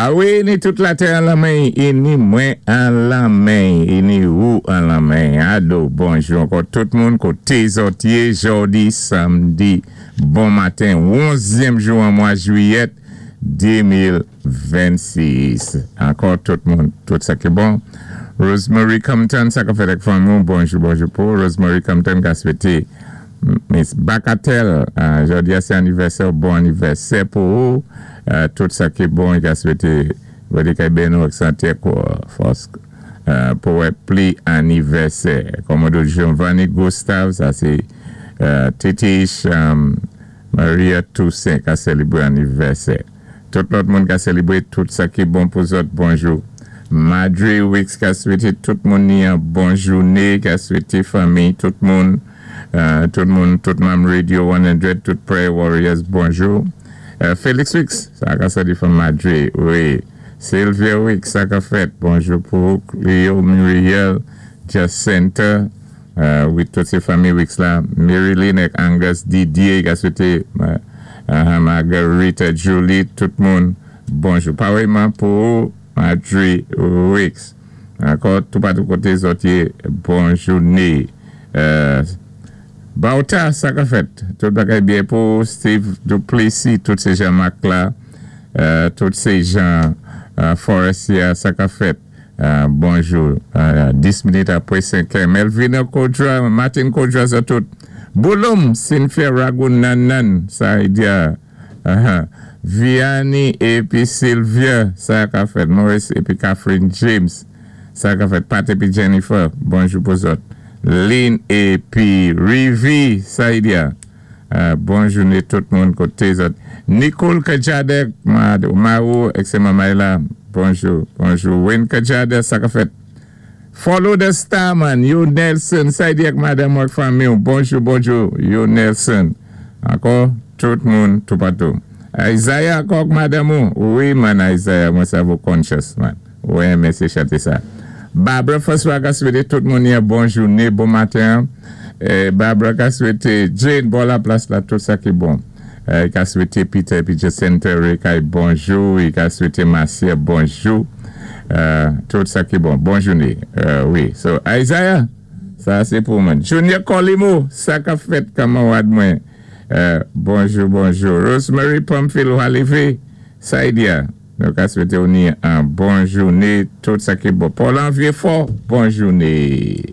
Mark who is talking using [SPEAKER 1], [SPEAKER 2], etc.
[SPEAKER 1] A wi, ni tout latè an lanmen, é ni mwen an lanmen, é ni ou an lanmen. Alo, bonjou ankò tout moun, koté zòt yé jòdi samdi bon maten, 11èm jou an mwa jwiyèt 2026. Ankò tout moun, tout sa ki bon. Rosemary Compton, sa ka fèt ak fanmi, bonjou, bonjou pou Rosemary Compton ka swété Miss Bacatel, jòdi a sé anivèsè, bon anivèsè pou ou. Tout sa ki bon, i ka swété Bondye kay béni ak santé fòs pou wè pli anivèsè. Kòmodò Giovanni Gustave, sa sé Titich Maria Toussaint ka sélébré anivèsè. Tout lòt moun ka sélébré, tout sa ki bon pou zòt, bonjou. Madre Wicks ka swété tout moun ni an bon jouné, ka swété fanmi, tout moun, tout moun, tout manm Radio 100, tout Prayer Warriors, bonjou. Felix Wicks, sa ka sòti from Madre, wi. Sylvia Wicks, sa ka fèt, bonjou pou Cleo Muriel, Jacinta, wi, tout sé fanmi Wicks la. Marilyn ak Angus Didier, ka swété Margarita Julie, tout moun, bonjou. Parèyman pou Madre Wicks. Ankò, tout patou koté zòt yé, bon jouné. Bauta, sa ka fèt. Tout bagay byen pou Steve Duplessis, tout sé Jean-Marc la, tout sé Jean Forestier, sa ka fèt. Bonjou. 10 minit apwé 5 è. Melvina Kodra, Martin Kodra, sa tout. Bouloum, Cynthia Ragunanan, sa y a. Vianney épi Sylvia, sa ka fèt. Maurice épi Catherine James, sa ka fèt. Pat épi Jennifer, bonjou pou zòt. Lynn épi Rivi, sa y a. Bon jouné tout moun koté zòt. Nicole Kajadek, Marou, ek Mamay la, bonjou, bonjou. Wayne Kajadek, sa ka fèt. Follow the star man, yo Nelson, sa y di ak madanm ak fanmi, bonjou, bonjou, yo Nelson. Ankò, tout moun, tout patou. Isaiah ankò madanm ou? Wi man Isaiah, mwen sa vo conscious man. Wi, mèsi chanté sa. Barbara François ka swété tout moun yon bon jouné, bon maten. Barbara ka swété Jane, bon la plas la, tout sa ki bon. I ka swété Peter épi Jacinta Rekay bonjou. I ka swété Marcia bonjou. Tout sa ki bon. Bon jouné. Wi. So, Isaiah, sa sé pou mwen. Junior Colimo, sa ka fèt kanmarad mwen. Bonjou, bonjou. Rosemary Pamphile Walivé, sa y a. Nou ka swété ou ni an bon jouné, tout sa ki bon. Paul Envier Fort, bon jouné.